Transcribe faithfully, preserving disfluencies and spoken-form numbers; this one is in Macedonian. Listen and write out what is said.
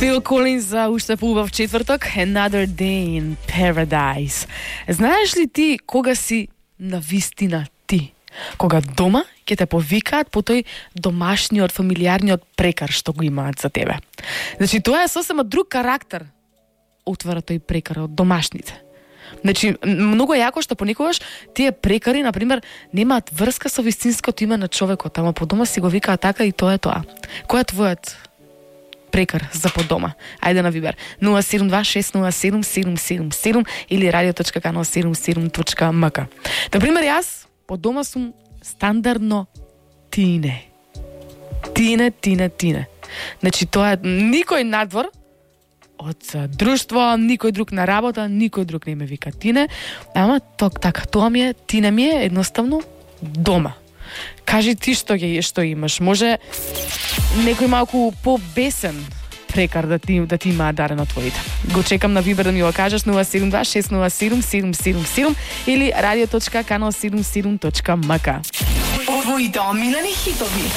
Фил Колинс за уште поубав четврток, Another Day in Paradise. Знаеш ли ти кога си на вистина ти? Кога дома ќе те повикаат по тој домашниот, фамилиарниот прекар што го имаат за тебе. Значи, тоа е сосема друг карактер отвара тој прекар од домашните. Значи, многу е јако што понекогаш тие прекари, например, немаат врска со вистинското име на човекот, ама по дома си го викаат така и тоа е тоа. Кој е твојот прекар за по дома? Ајде на Вибер нула седум два шест нула седум седум седум седум или радио точка канал седум седум точка ем ка. Например, јас по дома сум стандардно Тине. Тине, Тине, Тине. Значи, тоа е никој надвор од друштво, никој друг на работа, никој друг не ме вика Тине, ама ток така, тоа ми е, Тине ми е едноставно дома. Кажи ти што ќе што имаш. Може некој малку побесен прекар да ти да ти има дарено твоите. Го чекам на Вибер да ми го кажеш нула седум два шест нула седум седум седум седум или радио точка канал седум седум точка ем ка. Твоите омилени хитови.